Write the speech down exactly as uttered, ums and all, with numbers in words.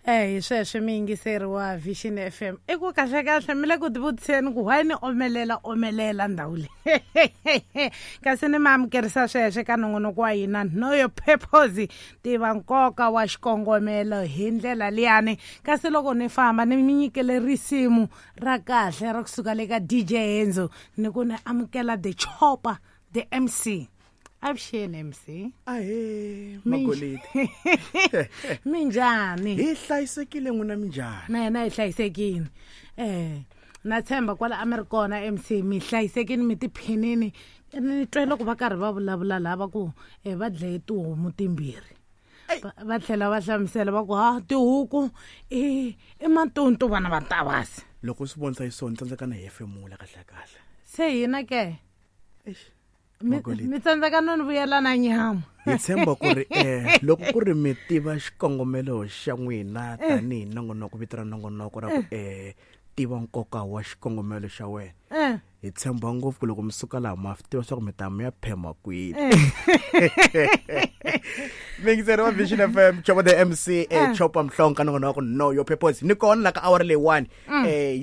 Eh hi sweswo mi yingiseri wa Vision F M i ku kahle kahle mi le ku tivutiseni ku why ni omelela omelela ndhawu leyi kasi ni mi amukerisa sweswo ka nongonoko wa hina Know Your Purpose tiva nkoka wa xikongomelo hi ndlela liyani kasi loko ni famba ni mi nyikele risimu ra kahle ra kusuka le ka D J Enzo ni ku ni amukela the Chopper the M C avuxeni M C ahe magolidi minjhani hi hlayisekile n'wina minjhani na yena hi hlayisekile eh na tshemba kwala a mi ri kona M C mi hlayisekile mi tiphinini ni twe loko va karhi va vulavula laha va ku eh va dlaye tihomu timbirhi va tlhela va hlamusela va ku ha tihuku i i matonto vana va Ntavasi loko swi vonisa hi sona tsandzeka na hefemula kahle kahle se hina ke eish mi tsandzeka no ni vuyela na nyama hi tshemba ku ri eh loko ku ri mi tiva xikongomelo xa n'wina tanihi nongonoko vito ra nongonoko ra ku eh tiva nkoka wa xikongomelo xa wena hi tshemba ngopfu ku loko mi suka laha ma tiva swa ku mi ta mi ya phema kwini mingiseri wa Vision F M Chopper the M C eh Chopper Mhlonga nongonoko Know Your Purpose ni kona la ka hour leyiwani eh